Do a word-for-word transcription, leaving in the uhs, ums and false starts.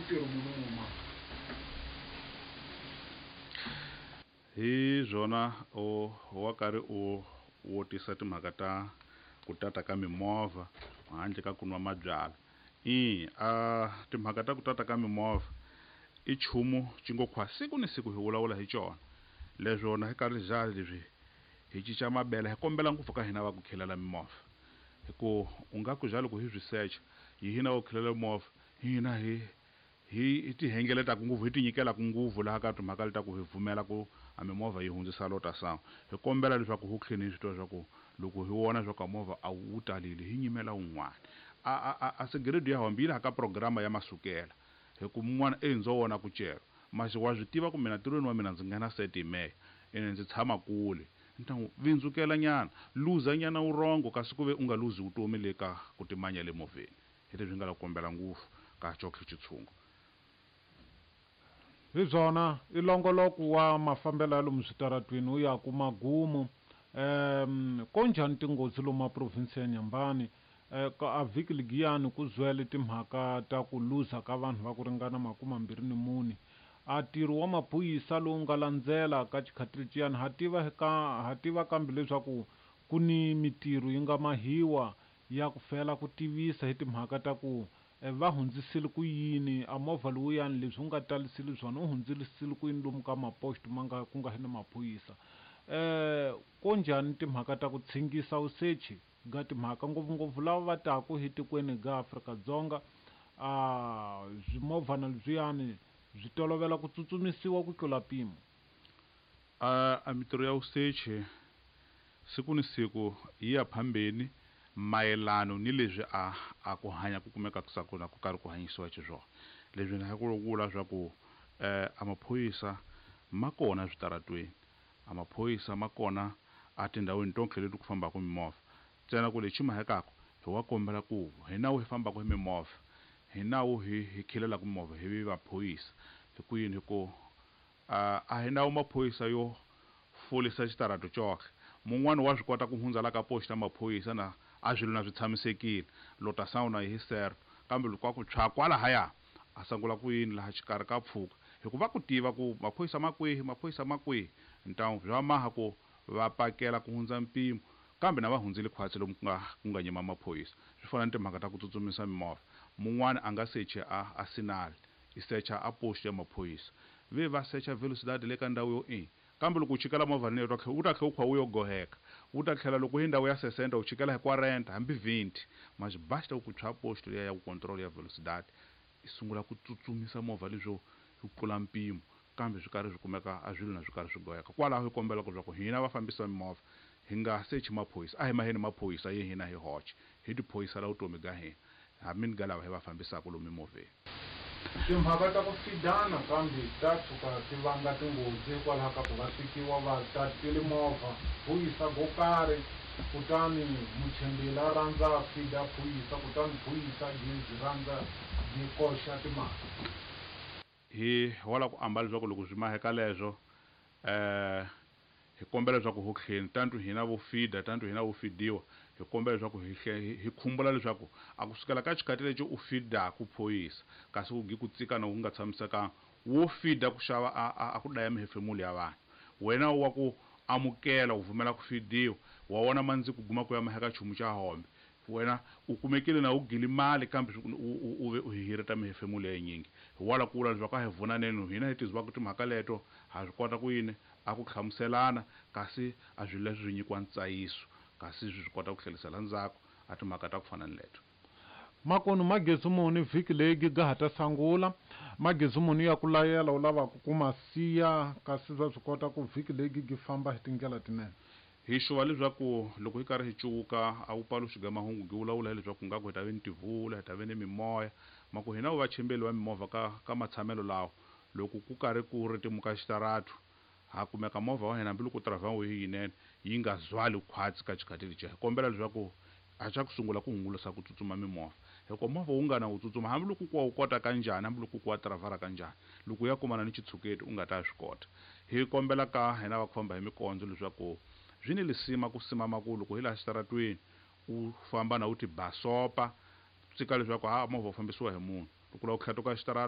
ntirho muni wu ma Hi byona o wa karhi u wo tisa timhaka ta ku tata ka mimovha handle ka ku nwa mabyalwa. I a timhaka ta ku tata ka mimovha i nchumu xi ngo khwa siku ni siku hi vulavula hi cona. Leswo na hi karhi za leswi hi cinca mabele hi kombela ngopfu ka hina va ku khelela mimovha. Hi ku u nga ku za loko hi swi secha hi hina va ku khelela mimovha hina hi hi ti hengeletaka ngopfu hi ti nyikelaka ngopfu laha ka timhaka leti ta ku hi pfumela ku a mimovha yi hundzisa lota sangu. Hi kombela leswaku hu tlheni hi swi tiva swa ku loko hi vona swa ku a movha a wu talile hi nyimela wun'wana. A a a a sigiredi ya hombi yi laha ka programa ya masukela hi ku mun'wana e ndzo vona ku cela masi wa swi tiva ku mina ntirhweni wa mina ndzi nghena seti hi mehe ene ndzi tshama kule ni ta n'wi vindzukela nyana luza nyana wurhongo kasi ku ve u nga luzi vutomi le ka ku timanya le movheni. Hi leswi nga la ku kombela ngopfu ka Chokwe Xitshungu. Hi byona i longoloko wa mafambelo ya lomu switaratwini wu ya ku magumu. um ko njhani tinghozi lomu a province ya Nyambani? Eh, ka a vhiki ligiyani ku zwele timhaka ta ku luza ka vanhu va ku ringana makume mambirhi ni mune. A ntirho wa maphorisa lowu nga landzela ka xikhatili ciyani ha tiva ka ha tiva kambe leswaku ku ni mitirho yi nga mahiwa ya ku fela ku tivisa hi timhaka ta ku va hundzisile ku yini a movha lowuyani leswi wu nga talisile swona wu hundzisile ku yini lomu ka maposto ma nga ku nga ni maphorisa. Eh ko njhani timhaka ta ku tshingisa vusechi ga timhaka ngopfungopfu lava va taku hi tikweni ga Afrika-Dzonga a swimovhana leswiyani byi tolovela ku tsutsumisiwa ku tlula mpimo. A a mitirho ya vusechi siku ni siku yi ya phambeni mayelano ni leswi a a ku hanya ku kumeka ku na ku karhi ku hanyisiwa xiswona. Leswi na ku vula swa ku eh a maphorisa ma kona switaratweni, a maphorisa ma kona a tindhawini tonke leti ku fambaka mimovha. Ntsena ku lexi mahekaka hi wa kombela ku hi nawu hi fambaka hi mimovha hi nawu hi hi khelelaka mimovha hi vi maphorisa. Hi ku yini? Hi ku a a hi nawu maphorisa yo folisa xitarato coxe. Mun'wani wa swi kota ku hundza la ka post ya maphorisa na a swilo na swi tshamisekile lota sawuna hi sero kambe loko a ku tshwa kwalahaya a sungula ku yini laha xikarhi ka pfuka hi ku va ku tiva ku maphorisa ma kwihi maphorisa ma kwihi ntamu bya maha ku va pakela ku hundza mpimo kambe na va hundzile khwatsi lomu ku nga ku nga nyima maphorisa. Swi fana ni timhaka ta ku tsutsumisa mimovha mun'wani a nga sechi a a sinali i secha a post ya maphorisa ve va secha velocidade le ka ndhawu yo i kambe loko u chikela movha leyi wu ta tlhela wu kha wu yo goheka wu ta tlhela loko hi ndhawu ya sesenta u chikela hi quarenta hambi vhinti masi basta ku tshwa post liya ya ku control ya velocidade i sungula ku tsutsumisa movha leswo yi tlula mpimo kambe swi karhi swi kumeka a swilo na swi karhi swi goheka. Kwalaho hi kombela ku leswaku hina vafambisi va mimovha hi nga sechi maphorisa a hi maheni maphorisa ye hina hi hoxe hi tiphorisela vutomi bya hina hambi ni ga lava hi va fambisaka lomu mimovheni. Timhaka ta ku fidana kambe ta tshuka ti vanga tinghozi hikwalaho ka ku va tekiwa va tatile movha phorisa go karhi kutani muchembeli a rhandza a fida phorisa kutani phorisa gezi rhandza yi koxa timhaka. Hi wala ku ambala leswaku loko swi maheka leswo eh hi kombela leswaku ho tlheni tantu hina vo fida tantu hina vo fidiwa hi kombela leswaku hi hi khumbula leswaku a kusukela ka xikhathi lexi u fidaku phorisa kasi ku gi ku tsikana ku nga tshamisekanga wo fida ku xava a a ku dlaya mihefemulo ya vanhu. Wena wa ku amukela u pfumela ku fidiwa wa vona mandzi ku guma ku ya maheka nchumu xa hombe wena u kumekile na u gili mali kambe u ve u hireta mihefemulo ya yinyingi. Hi wala ku vula leswaku a hi vunaneni hina hi tizivaka timhaka leto ha swi kota ku yini a ku hlamuselana kasi a swilo leswi swi nyikiwa ntsayiso kasi swi swi kota ku tlherisela ndzhaku a timhaka ta ku fana ni leto. Makonu magezi muni vhiki leyi ga ha ta sungula magezi muni ya ku layela u lavaka ku ma siya kasi va swi kota ku vhiki leyi gi famba hi tindlela tinene. Hi xuva leswaku loko hi karhi hi cuvuka a wu paluxi ga mahungu gi vulavula hileswaku nga ku hi ta ve ni tivula hi ta ve ni mimoya ma ku hina vachembeli va mimovha ka ka matshamelo lawa loko ku karhi ku ritimuka xitaratu ha kumeka movha wa hina hambiloko driver wu yi yinene yi nga zwali khwatsi ka xikhathi lexiya. Hi kombela leswaku a xa ku sungula ku hungusa ku tsutsuma mimovha hikuva movha wu nga na wu tsutsuma hambiloko ku wa wu kota kanjhani hambiloko ku wa driver kanjhani loko u ya kumana ni xitshuketi u nga ta swi kota. Hi kombela ka hina va ku famba hi mikondzo leswaku swi ni lisima ku simama ku loko hi laha xitaratweni u famba na u ti basopa tsika leswaku ha movha wu fambisiwa hi munhu loko u lava ku tlhatuka xitarata.